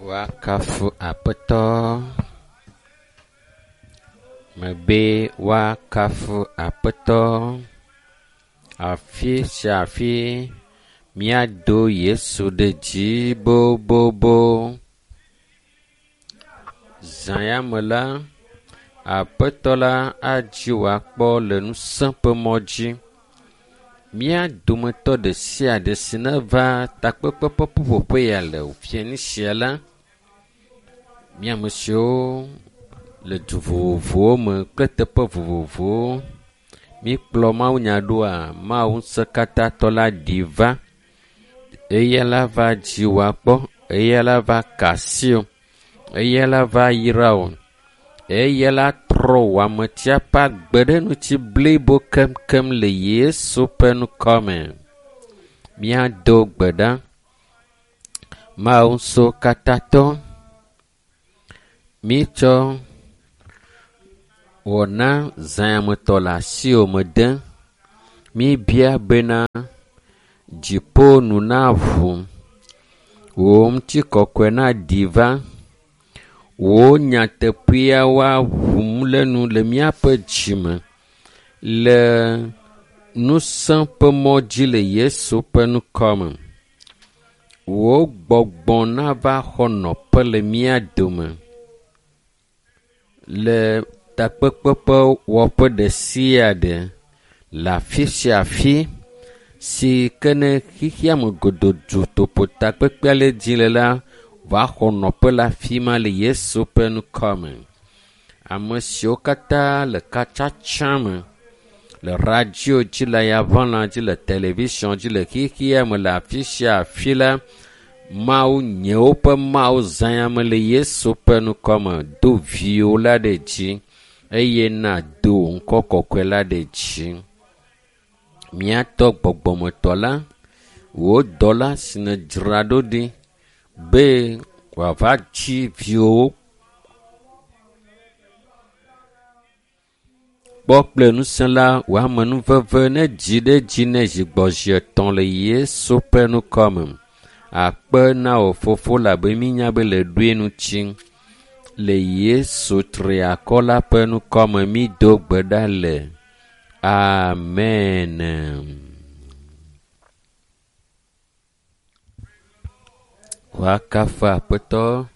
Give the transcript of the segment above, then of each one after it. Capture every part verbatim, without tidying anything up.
Woakafu Aƒetɔ. Mebe woakafu Aƒetɔ. Afi sia afi míado Yesu ɖe dzi bobobo. Zã ya me la, Aƒetɔ la adzi wòakpɔ le ŋusẽ ƒe mɔ dzi. Mía dometɔ ɖe sia ɖe si neva takpekpe ƒe ƒuƒoƒe ya le fiẽnu sia la, mía ame siwo le du vovovowo me kple teƒe vovovowo, míkplɔ mawunya ɖoa, Mawu ŋusẽkatãtɔ la ɖi va. Eya la va dzi wòakpɔ, eya la va ka asi wò, eya la va yra wò, eya la trɔ wò ametia ƒe agbe ɖe ŋuti blibo keŋkeŋ le Yesu ƒe ŋkɔ me. Míado gbe ɖa. Mawu ŋusẽkatãtɔ, mítsɔ wɔna zãyametɔ le asiwò me dem. Míebia bena dziƒo nu naʋu, wò ŋutikɔkɔe naɖi va, wò nyateƒea woaʋum le nu le míaƒe dzime le ŋusẽ ƒe mɔ dzi le Yesu ƒe ŋkɔ me. Wò gbɔgbɔ nava xɔ nɔƒe le mía dome le takpekpe ƒe wɔƒe ɖe sia ɖe le afi sia afi si ke ne xexea me godoo dutoƒo takpekpea le dzi le la, va xɔ nɔƒe le afi ma le Yesu ƒe ŋkɔ me. Ame siwo katã le katsatsa me le radio dzi le yaʋalã dzi le television dzi le xexea me le afi sia afi la, Mawu nyewo ƒe Mawu zãyame le Yesu ƒe ŋkɔ me do viwò la ɖe dzi eye nàdo wò ŋkɔ kɔkɔe la ɖe dzi. Míatɔ gbɔgbɔmetɔ la, wò dɔla si nèdzra ɖo ɖi be wòava dzi viwòwo kpɔ kple ŋusẽ la, wò amenuveve nedzi ɖe edzi ne zi gbɔ zi etɔ̃ le Yesu ƒe ŋkɔ me. Akpe na wò fofo labe mínya be le ɖoe ŋuti. Le Yesu triakɔ la ƒe ŋkɔ me mído gbe ɖa le. Amen. Woakafu Aƒetɔ.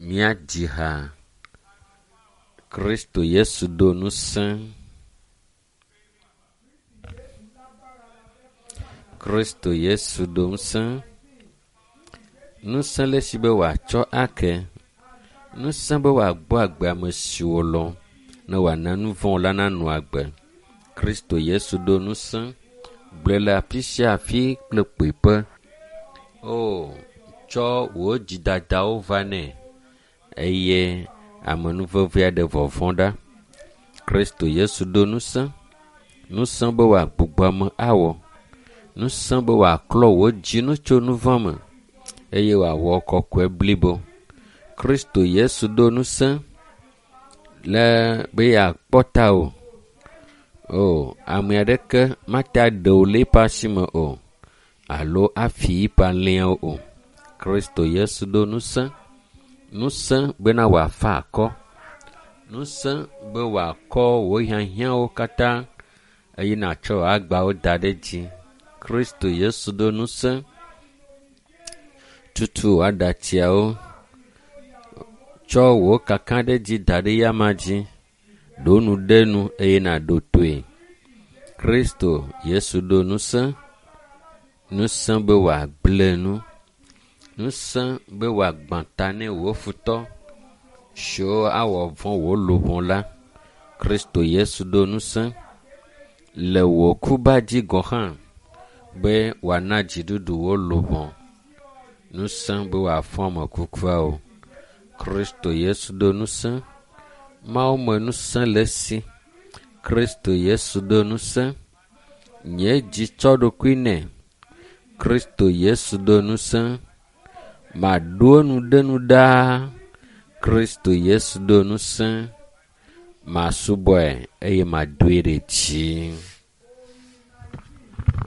Míadzi ha. Kristo Yesu ɖo ŋusẽ. Kristo Yesu ɖo ŋusẽ. Ŋusẽ le esi be wòatsɔ ake. Ŋusẽ be wòagbɔ agbe ame siwo lɔ̃ ne wòana nu vɔ̃ la nanɔ agbe. Kristo Yesu ɖo ŋusẽ. Gblɔe le afi sia afi kple kpuiƒe. O, tsɔ wò dzidadawo va nɛ eye amenuvevea ɖe vɔvɔ̃ ɖa. Kristo Yesu ɖo ŋusẽ. Ŋusẽ be wòagbugbɔ ame awɔ. Ŋusẽ be wòaklɔ wò dzinu tso nu vɔ̃ me eye wòawɔ kɔkɔe blibo. Kristo Yesu ɖo ŋusẽ le be yeakpɔ tawò. O, ame aɖeke mate aɖe wò le eƒe asi me o alo afi eƒe alẽawo o. Kristo Yesu ɖo ŋusẽ. Ŋusẽ bena wòafa akɔ. Ŋusẽ be wòakɔ wò hiahiãwo katã eye nàtsɔ wò agbawo da ɖe edzi. Kristo Yesu ɖo ŋusẽ. Tutu wò aɖatsiawo. Tsɔ wò kakaɖedzi da ɖe eyama dzi. Ɖo nu ɖe nu eye nàɖo toe. Kristo Yesu ɖo ŋusẽ. Ŋusẽ be wòagblẽ nu. Ŋusẽ be wòagbã ta ne wò futɔ siwo awɔ vɔ̃ wò luʋɔ la. Kristo Yesu ɖo ŋusẽ le wò kuba dzi gɔ̃ hã be wòana dziɖuɖu wò luʋɔ. Ŋusẽ be wòafɔ ame kukuawo. Kristo Yesu ɖo ŋusẽ. Mawu me ŋusẽ le esi. Kristo Yesu ɖo ŋusẽ. Nye dzi tsɔ ɖokui nɛ. Kristo Yesu ɖo ŋusẽ. Maɖo enu ɖe nu ɖaa. Kristo Yesu ɖo ŋusẽ. Masubɔe eye madoe ɖe dzi.